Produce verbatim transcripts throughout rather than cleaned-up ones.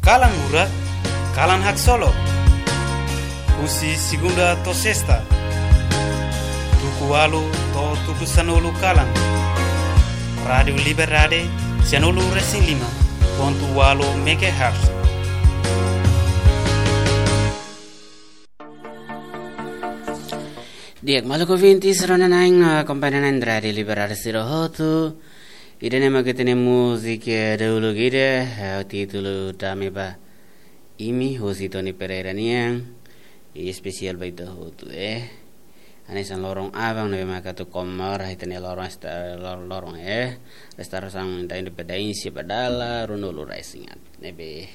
Kalan Murak, kalan haksolok. Husi segunda to'o sesta, tuku ualu to'o tuku sanulu kalan. Rádiu Liberdade, sanulu resin lima pontu ualu megahertz. Di'ak, maluk ouvintes, rona-na'in, ah, kompañia na'in Rádiu Liberdade sira hotu. Ida-ne'e mak ita-nia múzika dahuluk ida, eh, títulu Dame ba Imi, husi Tony Pereira nian, i espesiál ba ita hotu, eh. Hanesan loron aban ne'ebé maka atu komemora ita-nia loron esta-, lor-, loron, eh, restaurasaun da independénsia ba dala ruanulu resin haat. Ne'ebé,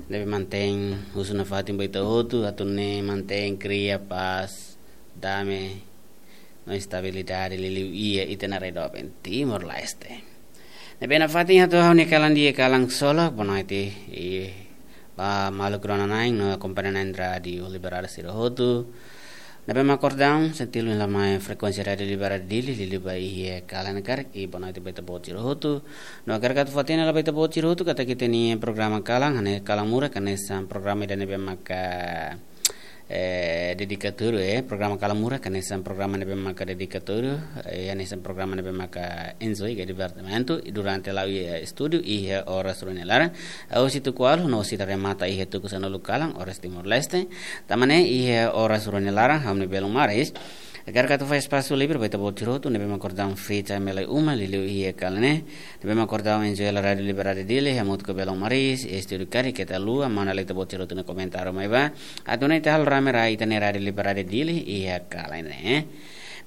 ne'ebé mantein husu nafatin ba ita hotu, atu nune'e mantein, kria pás, dame, no estabilidade, liuliu iha ita-nia rai doben Timor-Leste. Ne'ebé nafatin atu ha'u-nia kalan di'ak, kalan solok, bonoite, i ba maluk rona-na'in no kompañia na'in Rádiu Liberdade sira hotu. Ne'ebé mak kordang, sentil la mai frekuénsia Rádiu Liberdade Dili, liuliu ba iha kalan karik, i bonoite ba ita-boot sira hotu. No agora atu fó-hatene ba ita-boot sira hotu katak ita-nia programa kalan, hanesan kalan murak, hanesan programa ida ne'ebé maka eh, dedikatóriu, eh, programa kalan murak, hanesan programa ne'ebé maka dedikatóriu, eh, hanesan programa ne'ebé maka enjoy ka divertimentu, i durante la'o iha estúdiu, iha oras rua nia laran, husi tuku ualu, no sei remata iha tuku sanulu kalan, oras Timor-Leste, tanba ne'e iha oras rua nia laran, ha'u-nia belun Maris, agora atu fó espasu livre ba ita-boot sira hotu, ne'ebé mak kordang free time lai uma, liuliu iha kalan ne'e, ne'ebé mak kordang enjoy hela Rádiu Liberdade Dili, hamutuk ho belun Maris, estúdiu karik keta haluha, mana lai ita-boot sira hotu-nia komentáriu mai ba, atu nune'e ita halo rame rai ita-nia Rádiu Liberdade Dili iha kalan ne'e.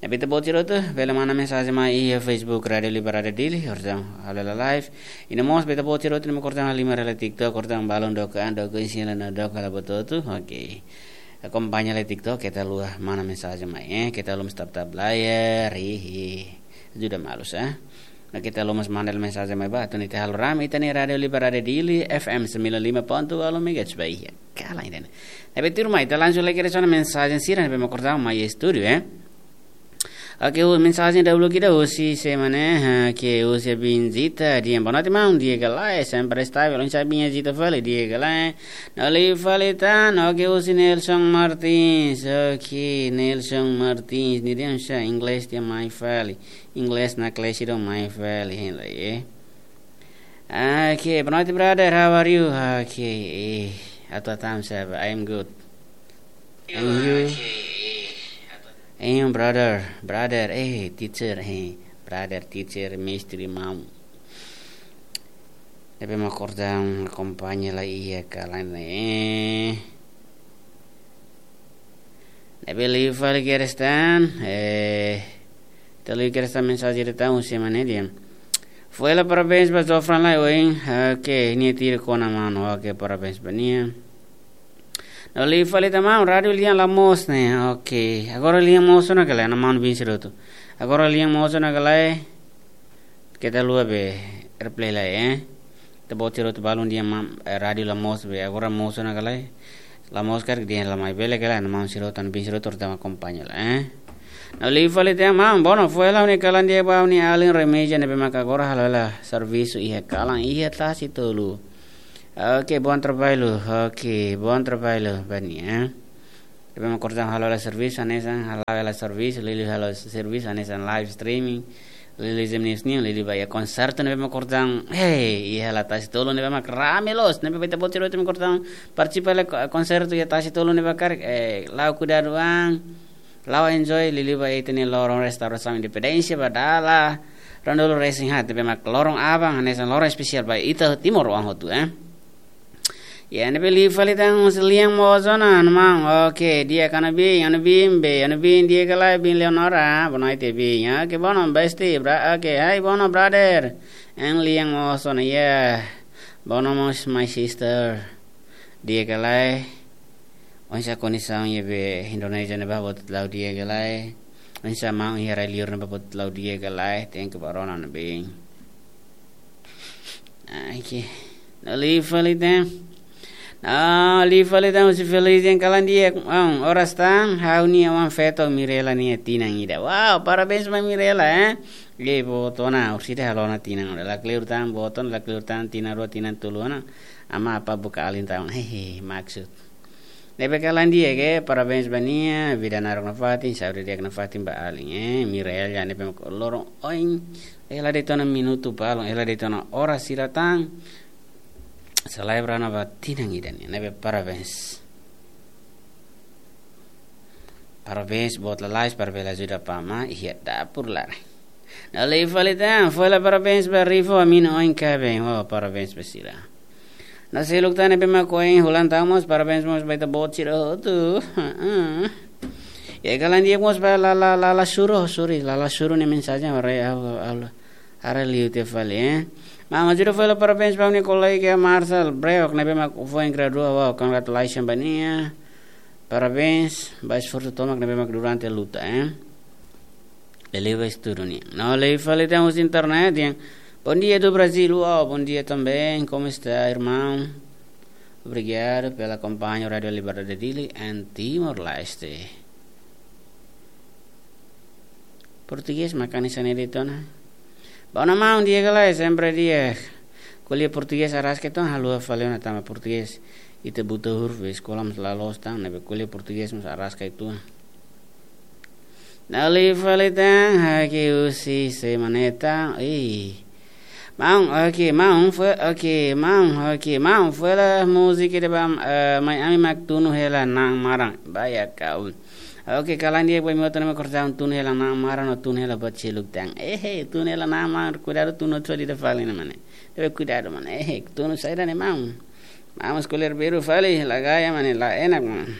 Ne'ebé ita-boot sira hotu bele manda mensajen mai iha Facebook Rádiu Liberdade Dili, kordang halo hela live. I no mós ba ita-boot sira hotu ne'ebé kordang halimar hela TikTok, kordang balun dook an, dook isin hela no dook hela buat hotu. Oke. Akompaña lai TikTok, keta haluha manda mensajen mai, eh. Keta haluha mós tap-tap layar, ih, ih. Ajuda malu, eh. No keta haluha mós manda mensajen mai ba, atu nune'e ita halo rame ita-nia Rádiu Liberdade Dili, F M sembilan lima ponto delapan megahertz ba iha kalan ida-ne'e. Ne'ebé tuirmai, ita langsung lai kedas ona mensajen sira ne'ebé mak kordang mai estúdiu, eh. Oke, hu-, mensajen dahuluk ida husi sé mak ne'e, ha, ke husi Abin Zita, dehan bonoite maun, di'ak ka lae, sempre estável, oinsá Abin Zita fali, di'ak ka lae. No liu fali tan, oke, husi Nelson Martins, oke, Nelson Martins, nia dehan oinsá inglés nia mai fali. Inglés naklees ida mai fali hein lai, eh. Okay, bonoite brother, how are you? Okay, eh, atu tau saida, I am good. And you? And you, brother, brother, eh, teacher, eh, brother, teacher, mestre, maun. Ne'ebé mak kordang akompaña lai iha kalan ne'e. Ne'ebé liu fali kedas tan, eh, ita liu kedas tan mensajen ida tan husi ema ne'e dehan: Fó hela parabéns ba Zofran lai oin, oke, nia tira kona mano, oke, parabéns ba nia. No liu fali tan maun, rádiu lian la moos ne'e, oke, agora lian moos ona ka lae, maun-bin sira hotu. Agora lian moos ona ka lae, keta haluha be reply lai, eh. Ita-boot sira hotu balun dehan maun, eh, rádiu la moos be, agora moos ona ka lae. La moos karik dehan la mai bele ka lae, maun sira hotu, maun-bin sira hotu, terutama akompaña lai, eh. No liu fali tan maun, bono, fó hela ha'u-nia kalan di'ak ba ha'u-nia alin Remeja ne'ebé maka agora halo hela servisu iha kalan iha Tasi Tolu. Oke, bom trabalho. Oke, bom trabalho ba nia, eh. Ne'ebé mak kordang halo hela servisu, hanesan halo hela servisu, liuliu halo servisu, hanesan live streaming, liuliu Zem News nian, liuliu ba iha konsertu ne'ebé mak kordang, hei, iha hela Tasi Tolu ne'ebé mak rame loos, ne'ebé ba ita-boot sira hotu ne'ebé mak kordang partisipa hela ko-, konsertu iha Tasi Tolu ne'ebé karik, eh, la'o kuidadu an, la'o enjoy, liuliu ba ita-nia loron restaurasaun independénsia ba dala ruanulu resin haat, ne'ebé mak loron aban, hanesan loron espesiál ba ita timoroan hotu, eh. Ya, ne'ebé liu fali tan husi lian moos ona, maun. Oke, di'ak ka lae, bin, bin, bin, bin, di'ak ka lae, bin Leonora, bonoite bin. Oke, bono, bestie, bra-, oke, hai, bono, brother. And lian moos ona, ya. Bono mós, my sister. Di'ak ka lae. Oinsá kondisaun iha be Indonézia ne'ebá, buat la'o di'ak ka lae. Oinsá maun iha rai liur ne'ebá, buat la'o di'ak ka lae. Thank you ba rona ne'ebé. Ai, ke. No liu fali tan. No liu fali tan husi Feliz dehan kalan di'ak, maun, oras tan, ha'u-nia oan-feto Mirela nia tinan ida. Wow, parabéns ba Mirela, eh. Ye, boot ona, orsida halo ona tinan, la kleur tan, boot ona, la kleur tan, tinan rua, tinan tolu ona, ama apá buka alin tan, hehe, maksud. Ne'ebé kalan di'ak, parabéns ba nia, vida naruk nafatin, saúde di'ak nafatin ba alin, eh, Mirael ya ne'ebé mak loron oin, hela de'it ona minutu balun, hela de'it ona oras sira tan, selebra ona ba tinan ida-ne'e, ne'ebé parabéns. Parabéns, boot lalais, para bele ajuda apá amá iha dapur laran. No liu fali tan, foin hela parabéns ba Rifo, ami-nia oin kaben, oh, parabéns ba sira. No seluk tan ne'ebé mak oin holan tan mós, parabéns mós ba ita-boot sira hotu. Heeh. Ya, kalan di'ak mós ba Lala, Lala Suro, sorry, Lala Suro nia mensajen, haree, ha'u, ha'u, haree liu tiha fali, eh. Maun, ajuda foin hela parabéns ba ha'u-nia kolega Marcel Breok, ne'ebé mak foin gradua, wow, congratulations ba nia. Parabéns ba esforsu tomak ne'ebé mak durante luta, eh. Liuliu ba estudu nian. No liu fali tan husi internet dehan, bom dia do Brasil, wow, bom dia também, como está, irmão? Obrigado pela companhia Rádio Liberdade Dili and Timor-Leste. Portugés mak hanesan ne'e de'it ona. Bom, maun, di'ak ka lae, sempre di'ak. Ko'alia portugés araska uitoan, haluha fali ona tanba portugés ita buta huruf, eskola mós la loos tan, ne'ebé ko'alia portugés mós araska uitoan. No liu fali tan, hak'e husi Semaneta, ih. Maun, oke, maun, foin, oke, maun, oke, maun, foin hela múzika ida ba, eh, mai ami mak tunu hela na'an maran. Ba ya kau. Oke, kalan di'ak ba imi hotu ne'ebé mak kortaun tunu hela na'an maran no tunu hela buat seluk tan. Ehe, tunu hela na'an maran, kuidadu tunu hotu ida fali ne'e mane. Tebe kuidadu mane. Ehe, tunu saida ne'e maun. Maun mós ko'alia beru fali, la gaya mane, la enak mane.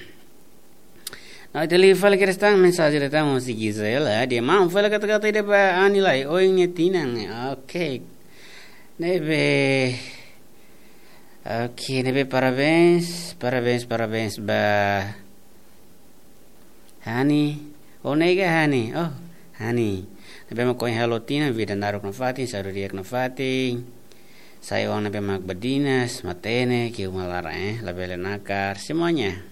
No ita liu fali kedas tan mensajen ida tan husi Gisela, dehan maun foin hela kata-kata ida ba Ani lai, oin nia tinan, eh, oke. Ne'ebé, oke, ne'ebé parabéns, parabéns, parabéns ba Hani, oh, nega Hani, oh, Hani. Ne'ebé mak oin halo tinan, vida naruk nafatin, saúde di'ak nafatin. Sai oan ne'ebé mak badinas, matenek iha uma laran, eh, labele nakar, semuanya.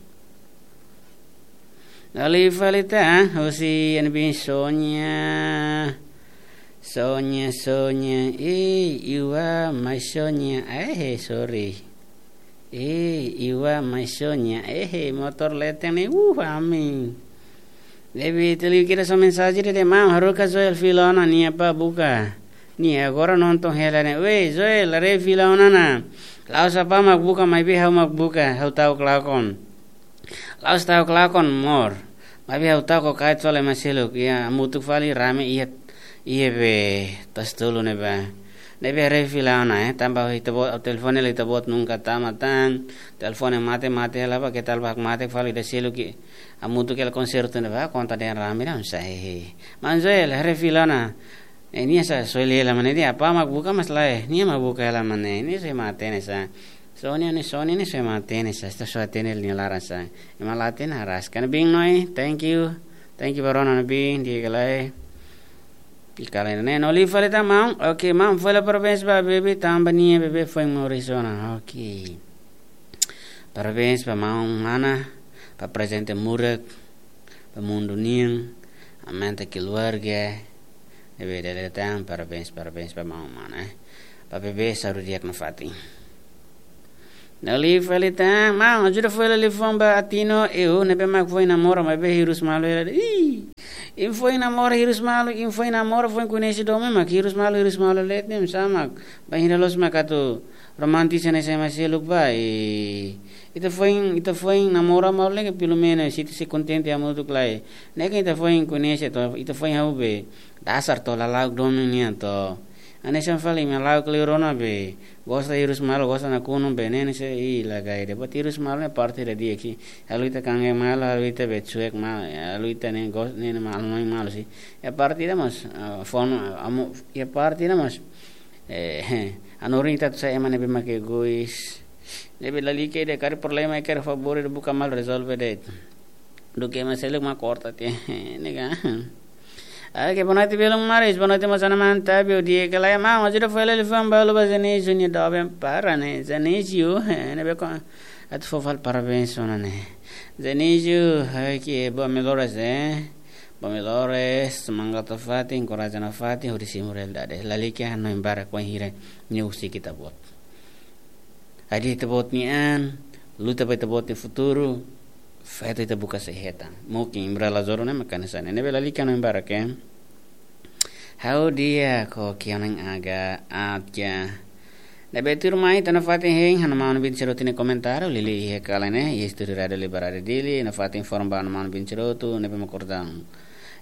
No liu fali tan, husi N B Sonia. Sonia, Sonia, eh, iwa mai Sonia, eh, sorry. Eh, iwa mai Sonia, eh, motór leten ne'e, uh, ami. Ne'ebé ita liu kedas mensajen ida dehan maun, haruka Joel fila ona, nia apá buka. Nia agora nonton hela ne'e. Weh, Joel, haree fila ona ona. La'ós apá mak buka, maibé ha'u mak buka, ha'u ta'uk lakon. La'ós ta'uk lakon, amor. Maibé ha'u ta'uk kait fali ema seluk, ya, hamutuk fali rame iha, iha be, Tasi Tolu ne'ebá. Ne'ebé haree fila ona, eh, tanba ita-boot, telefone hela ita-boot nunka tama tan, telefone mate, mate hela ba, keta ba mate fali ida seluk, hamutuk hela konsertu ne'ebá, konta dehan rame ida, sai. Maun Joel, haree fila ona. Eh, nia sá, Joel hela mane, nia apá mak buka mas lae, nia mak buka hela mane, nia só ema hatene sá. Sonia ne'e, Sonia ne'e só ema hatene sá, ita só hatene nia laran sá. Ema la hatene araska. Nabin Noi, thank you. Thank you ba rona Nabin, di'ak ka lae. I kalan ne'e, no liu fali tan maun, oke, maun, foin hela parabéns ba bebé, tanba nia bebé foin moris ona, oke. Parabéns ba maun Mana, ba prezente murak, ba mundu nian, aumenta keluarga, ne'ebé dala ida tan, parabéns, parabéns ba maun Mana, eh. Ba bebé saúde di'ak nafatin. No liu fali tan, maun, ajuda foin hela liafuan ba Atino, eu, ne'ebé mak foin namora, maibé hirus malu hela. Ih, imi foin namora hirus malu, imi foin namora, foin koñese domin mak hirus malu, hirus malu leten, imi sá mak, bainhira loos mak atu romantis hanesan ema seluk ba, eh, ita foin, ita foin namora malu ne'e ke pelumenus, ita sei kontente hamutuk lai. Ne'e ke ita foin koñese to, ita foin hahú be, dasar to, lala'ok domin nian to. Hanesan fali imi hala'o kleur ona be, gosta hirus malu, gosta nakonu be, ne'e ne'e sei, ih, la gaya de'it. Buat hirus malu ne'e parte ida di'ak, halo ita kangen malu, halo ita be cuek malu, halo ita ne'e gos-, ne'e ne'e malu, malu, malu sih. Iha parte ida mós, eh, forma, amo, iha parte ida mós, eh, hanorin ita atu sai ema ne'ebé mak egois. Ne'ebé lalika ida karik problema, karik favór ida buka malu rezolve de'it. Duké ema seluk mak korta tiha. Ne'e ka. Oke, boa noite, belun maris. Boa noite, mós ana mantap, eu di'ak ka lae maun. Ajuda foin hela liafuan balu ba Zanejo nia doben para ne'e. Zanejo, eh, ne'ebé ko atu fó fali parabéns ona ne'e. Zanejo, oke, boa melhoras, eh. Ba melhores, semangat nafatin, korajen nafatin, hodi simu realidade. Lalika hanoin barak wainhira nia husik ita-boot. Hadi'a ita-boot nia an, luta ba ita-boot nia futuru, feto ita buka sei hetan. Mungkin imbra la joru ne'e mak hanesan ne'e. Ne'ebé lalika hanoin barak, eh. Ha'u di'ak, oke, onan aga, aat ya. Ne'ebé tuirmai ita nafatin hein, ha'u-nia maun Bin Cerotu nia komentáriu, liuliu iha kalan ne'e, iha estúdiu Rádiu Liberdade Dili, nafatin informa ba ha'u-nia maun Bin Cerotu, ne'ebé mak kordang.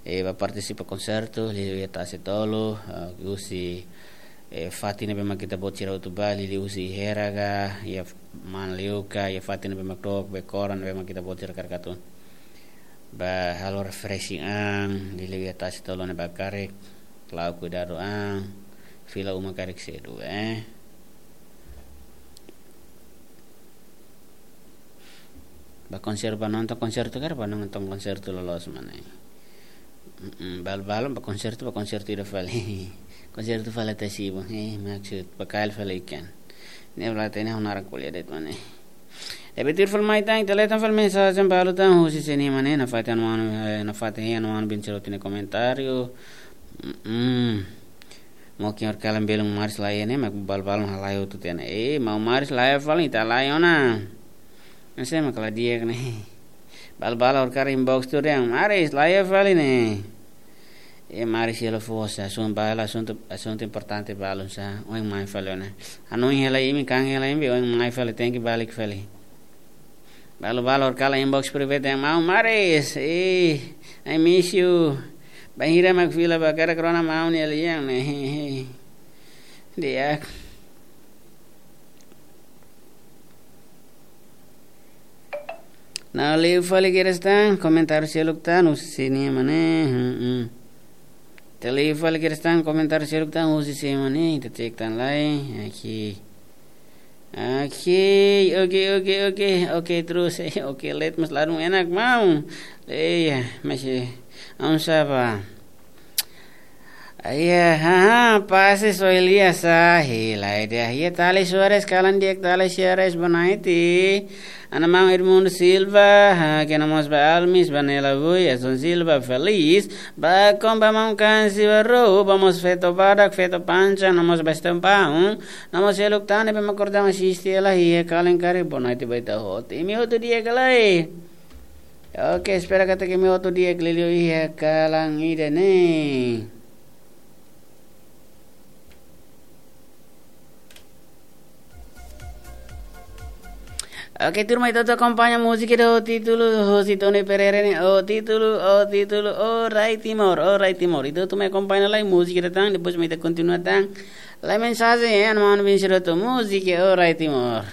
Eh, ba partisipa konsertu, liuliu iha Tasi Tolu, eh, husi, eh, fatin ne'ebé mak ita-boot sira hotu ba, liuliu husi Hera ka, iha Manliuka, iha fatin ne'ebé mak dook, Bekoran, ne'ebé mak ita-boot sira karik atu ba halo refreshing an, liuliu iha Tasi Tolu ne'e ba karik, la'o kuidadu an, fila uma karik sedu, eh. Ba konser, ba nonton konsertu karik, ba nonton konsertu loloos mak ne'e. Mm-mm, balu-balu ba konsertu, ba konsertu ida fali. Konsertu fali tasi bu, eh, maksud, ba kail fali ikan. Ne'e bala tene hau naran ko'alia de'it mak ne'e. Ne'ebé tuir fali mai tan, ita lee tan fali mensajen balu tan, husi sé nian mak ne'e, nafatin ha'u-nia maun, eh, nafatin ha'u-nia maun Bin Cerotu nia komentáriu. Mm-mm. Mungkin horikalan belun Maris laiha ne'e, mak balu-balu halai hotu tiha ona. Eh, maun Maris laiha fali, ita halai ona. Ese mak la di'ak ne'e. Balu-balu horikalan inbox tuir dehan, Maris laiha fali ne'e. Eh, Maris hela fosa, asuntu balu, asuntu, asuntu importante balu sá, oin mai fali ona. Hanoin hela imi, kan hela imi, oin mai fali, tenke balik fali. Balu-balu horikalan inbox private dehan, maun Maris, eh, I miss you. Bainhira mak fila ba karik rona maun nia lian ne'e. Di'ak. Ne'e liu fali kedas tan, komentáriu seluk tan, husi sé nian mak ne'e, hmm, hmm. Ita liu fali kedas tan, komentáriu seluk tan, husi sé mak ne'e, ita cek tan lai, aqui. Aqui, ok, ok, ok, ok, terus, eh, ok, let mas ladung enak mau. Iya, masih, aun sapa? Iya, haha, pase so Elias, ah, hila ida, iya, Tali Soares, kalan di'ak Tali Soares, bonaiti. Ha'u-nia maun Edmundo Silva, ha, kena mós ba Almis, ba Nela Vui, Edson Silva, Feliz, ba Komba Maun Kansi, ba Rou, ba mós feto badak, feto panca, no mós ba Estempaun, no mós seluk tan ne'ebé mak kordang asiste hela iha kalan karik, bonaiti ba ita hotu. Imi hotu di'ak ka lae? Oke, espera katak imi hotu di'ak liuliu iha kalan ida-ne'e. Oke, turma, ita hotu akompaña múzika ida ho títulu, husi Tony Pereira ne'e, ho títulu, ho títulu, O Rai Timor, O Rai Timor. Ita hotu mai akompaña lai múzika ida tan, depois mai ita kontinua tan. Lai mensajen, eh, ha'u-nia maun Bin Cerotu, múzika O Rai Timor.